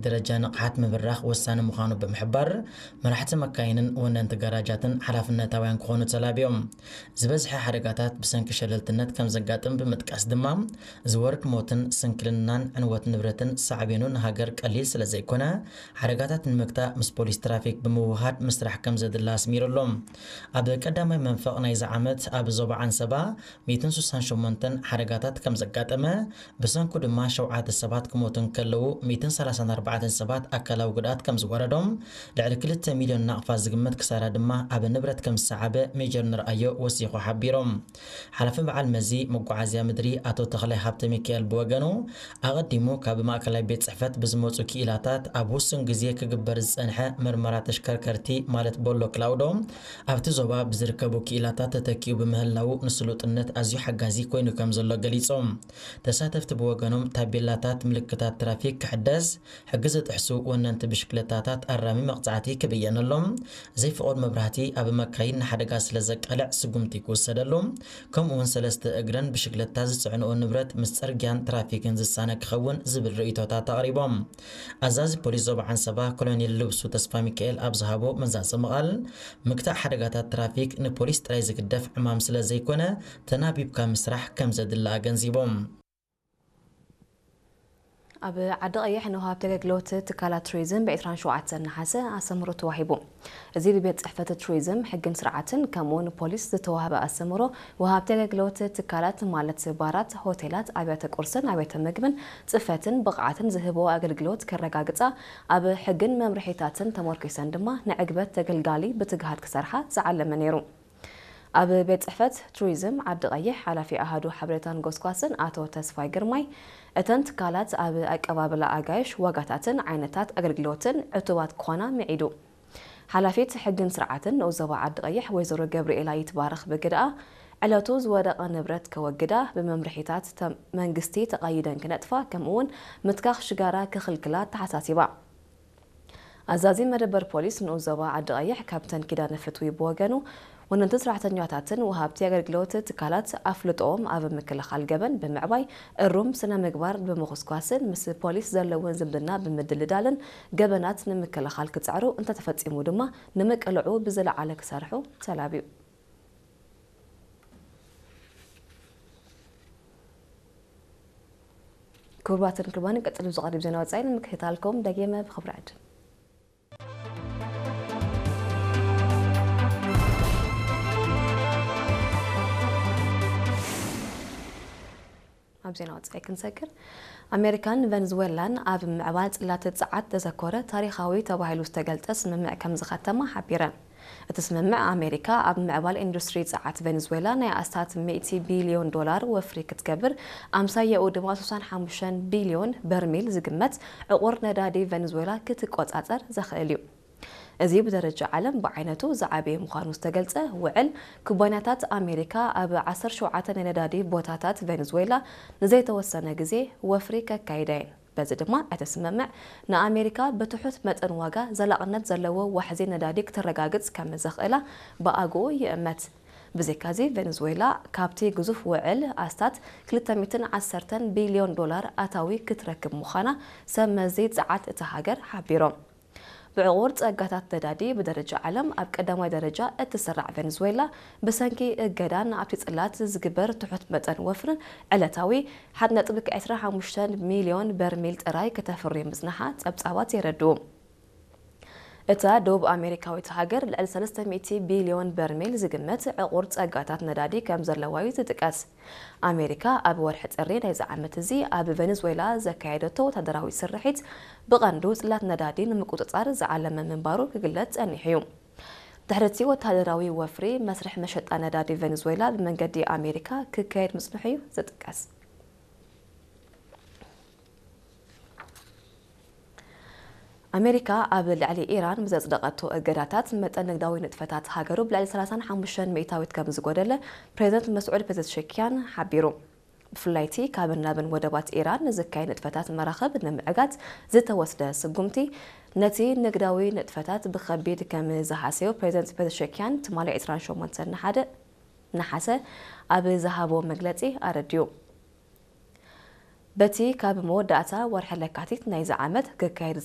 ደረጃ ንቕሓት ምብራኽ ወሳኒ ምዃኑ ብምሕባር፣ መራሕቲ መካይንን ወነንቲ ጋራጃትን ሓላፍነታውያን ክኾኑ ተላብዮም። ዝበዝሐ ሓደጋታት ብሰንኪ ሸለልትነት ከም ዘጋጥም ብምጥቃስ ድማ፣ ዝወርድ ሞትን ስንክልናን ዕንወት ንብረትን ሳዕቤኑ ንሃገር ቀሊል ስለ ዘይኮነ፣ ሓደጋታት ንምግታእ ምስ ፖሊስ ትራፊክ ብምውሃድ ምስራሕ ከም ዘድሊ ኣስሚሩሎም። ኣብ ቀዳማይ መንፈቕ ናይዚ ዓመት ኣብ ዞባ ዓንሰባ ሚእትን ስሳን ሸሞንተን ሓደጋታት ከም ዘጋጠመ፣ ብሰንኩ ድማ ሸውዓተ ሰባት ክሞቱ እንከለዉ፣ ሚእትን ሰላሳን ኣርባዕተን ሰባት ኣካላዊ ጉድኣት ከም ዝወረዶም፣ ልዕሊ ክልተ ሚልዮን ናቕፋ ዝግመት ክሳራ ድማ ኣብ ንብረት ከም ዝሰዓበ ሜጀር ንርኣዮ ወሲኹ ሓቢሮም። ሓላፊ በዓል መዚ መጓዓዝያ ምድሪ ኣቶ ተኽላይ ሃብተ ሚካኤል ብወገኑ፣ ኣቐዲሙ ካብ ማእከላይ ቤት ጽሕፈት ብዝመጹ ክኢላታት ኣብ ውሱን ግዜ ክግበር ዝጸንሐ መርመራ ተሽከርከርቲ ማለት ቦሎ ክላውዶ፣ ኣብቲ ዞባ ብዝርከቡ ክኢላታት ተተኪኡ ብምህላዉ ንስሉጥነት ኣዝዩ ሓጋዚ ኮይኑ ከም ዘሎ ገሊጾም። ተሳተፍቲ ብወገኖም ታቤላታት ምልክታት ትራፊክ ክሕደስ፣ ሕጊ ዝጥሕሱ ወነንቲ ብሽክለታታት ኣራሚ መቕጻዕቲ ክብየነሎም፣ ዘይፍቑድ መብራህቲ ኣብ መካይን ንሓደጋ ስለ ዘቃልዕ ስጉምቲ ክውሰደሉ፣ ከምኡ እውን ሰለስተ እግረን ብሽክለታ ዝጽዕንኦ ንብረት ምስ ጽርግያን ትራፊክን ዝሳነ ክኸውን ዝብል ርእይቶታት ኣቕሪቦም። ኣዛዚ ፖሊስ ዞባ ዓንሰባ ኮሎኔል ልብሱ ተስፋ ሚካኤል ኣብ ዝሃቦ መዛዘሚ ቃል፣ ምግታእ ሓደጋታት ትራፊክ ንፖሊስ ጥራይ ዝግደፍ ዕማም ስለ ዘይኮነ፣ ተናቢብካ ምስራሕ ከም ዘድሊ ኣገንዚቦም። ኣብ ዓዲ ቀይሕ ንወሃብቲ ኣገልግሎት ትካላት ቱሪዝም ብ ዕስራን ሸውዓተን ነሓሰ ኣሰምሮ ተዋሂቡ። እዚ ብቤት ጽሕፈት ቱሪዝም፣ ሕግን ስርዓትን ከምኡ ንፖሊስ ዝተዋህበ ኣሰምሮ፣ ወሃብቲ ኣገልግሎት ትካላት ማለት ባራት፣ ሆቴላት፣ ኣብያተ ቁርስን ኣብያተ ምግብን ጽፈትን ብቕዓትን ዝህብዎ ኣገልግሎት ከረጋግጻ፣ ኣብ ሕግን መምርሒታትን ተመርኪሰን ድማ ንዕግበት ተገልጋሊ ብትግሃት ክሰርሓ ዝዓለመ ነይሩ። ኣብ ቤት ጽሕፈት ቱሪዝም ዓዲ ቀይሕ ሓላፊ ኣሃዱ ሓበሬታን ጎስጓስን ኣቶ ተስፋይ ግርማይ፣ እተን ትካላት ኣብ ኣቀባብላ ኣጋይሽ፣ ዋጋታትን ዓይነታት ኣገልግሎትን ዕቱባት ክኾና ምዒዱ። ሓላፊት ሕግን ስርዓትን ንኡስ ዞባ ዓዲ ቀይሕ ወይዘሮ ገብርኤላ ይትባረኽ ብግድኣ፣ ዕለቱ ዝወደቐ ንብረት ከወግዳ፣ ብመምርሒታት ተ-፣ መንግስቲ ተቐይደን ክነጥፋ፣ ከምኡ'ውን ምትካኽ ሽጋራ ክኽልክላ ኣተሓሳሲባ። ኣዛዚ መደበር ፖሊስ ንኡስ ዞባ ዓዲ ቀይሕ ካፕተን ኪዳነ ፍትዊ ብወገኑ፣ ወነንቲ ሰራሕተኛታትን ወሃብቲ ኣገልግሎት ትካላት ኣፍልጦኦም ኣብ ምክልኻል ገበን ብምዕባይ፣ እሩም ስነ ምግባር ብምኹስኳስን ምስ ፖሊስ ዘለውን ዝምድና ብምድልዳልን ገበናት ንምክልኻል ክጽዕሩ፣ እንተተፈጺሙ ድማ ንምቅልዑ ብዝለዓለ ክሰርሑ ተላብዩ። ክቡራትን ክቡራን፣ ቀጺሉ ዝቐርብ ዜና ወጻኢ ንምክትታልኩም ደጊመ ብኽብሪ ዕድም። ኣብ ዜና ወጻኢ ክንሰግር፣ ኣሜሪካን ቨንዙዌላን ኣብ ምዕባል ጽላት ጸዓት ዘተኮረ ታሪኻዊ ተባሂሉ ዝተገልጸ ስምምዕ ከም ዝኸተማ ሓቢረን። እቲ ስምምዕ፣ ኣሜሪካ ኣብ ምዕባል ኢንዱስትሪ ጸዓት ቬንዙዌላ ናይ ኣስታት ሚእቲ ቢልዮን ዶላር ወፍሪ ክትገብር፣ ኣምሳያኡ ድማ ስሳን ሓሙሽተን ቢልዮን በርሚል ዝግመት ዕቑር ነዳዲ ቬንዙዌላ ክትቆጻጸር ዘኽእል እዩ። እዚ ብደረጃ ዓለም ብዓይነቱ ዝዓበየ ምዃኑ ዝተገልጸ ውዕል፣ ኩባንያታት ኣሜሪካ ኣብ ዓሰርተ ሸውዓተ ናይ ነዳዲ ቦታታት ቬንዙዌላ ንዘይተወሰነ ግዜ ወፍሪ ከካይዳ እየን። በዚ ድማ እቲ ስምምዕ ንኣሜሪካ ብትሑት መጠን ዋጋ ዘላቕነት ዘለዎ ዋሕዚ ነዳዲ ክተረጋግጽ ከም ዘኽእላ ብኣግኡ ይእመት። ብዘይካዚ፣ ቬንዙዌላ ካብቲ ግዙፍ ውዕል ኣስታት ክልተ ሚእትን ዓሰርተን ቢልዮን ዶላር ኣታዊ ክትረክብ ምዃና ሰብ መዚ ጸዓት እታ ሃገር ሓቢሮም። ብዕቑር ጸጋታት ነዳዲ ብደረጃ ዓለም ኣብ ቀዳማይ ደረጃ እትስራዕ ቬንዙዌላ፣ ብሰንኪ እገዳን ኣብቲ ጽላት ዝግበር ትሑት መጠን ወፍርን ዕለታዊ ሓደ ነጥቢ ዕስራ ሓሙሽተ ሚልዮን በርሚል ጥራይ ከተፍሪ ምጽናሓ ጸብጻባት የረድኡ። እታ ደቡብ ኣሜሪካዊት ሃገር ልዕሊ ሰለስተ ሚእቲ ቢልዮን በርሚል ዝግመት ዕቑር ጸጋታት ነዳዲ ከም ዘለዋ እዩ ዝጥቀስ። ኣሜሪካ ኣብ ወርሒ ጥሪ ናይዚ ዓመት እዚ ኣብ ቬኔዙዌላ ዘካየደቶ ወታደራዊ ስርሒት ብቐንዱ ጽላት ነዳዲ ንምቁጽጻር ዝዓለመ ምንባሩ ክግለጽ ጸኒሑ እዩ። ድሕሪ እቲ ወታደራዊ ወፍሪ፣ መስርሕ መሸጣ ነዳዲ ቬኔዙዌላ ብመንገዲ ኣሜሪካ ክካየድ ምጽንሑ እዩ ዝጥቀስ። ኣሜሪካ ኣብ ልዕሊ ኢራን ብዘጽደቐቶ እገዳታት፣ መጠን ንግዳዊ ንጥፈታት ሃገሩ ብልዕሊ ሰላሳን ሓሙሽተን ሚእታዊት ከም ዝጎደለ ፕሬዚደንት መስዑድ ፔዘሽኪያን ሓቢሩ። ብፍላይ እቲ ካብን ናብን ወደባት ኢራን ንዝካየድ ንጥፈታት መራኽብ ንምዕጋት ዝተወስደ ስጉምቲ፣ ነቲ ንግዳዊ ንጥፈታት ብኸቢድ ከም ዝሃሰዮ ፕሬዚደንት ፔዘሽኪያን ትማሊ ዕስራን ሸሞንተን ነሓደ-፣ ነሓሰ ኣብ ዝሃቦ መግለጺ ኣረዲኡ። በቲ ካብ መወዳእታ ወርሒ ለካቲት ናይዚ ዓመት ክካየድ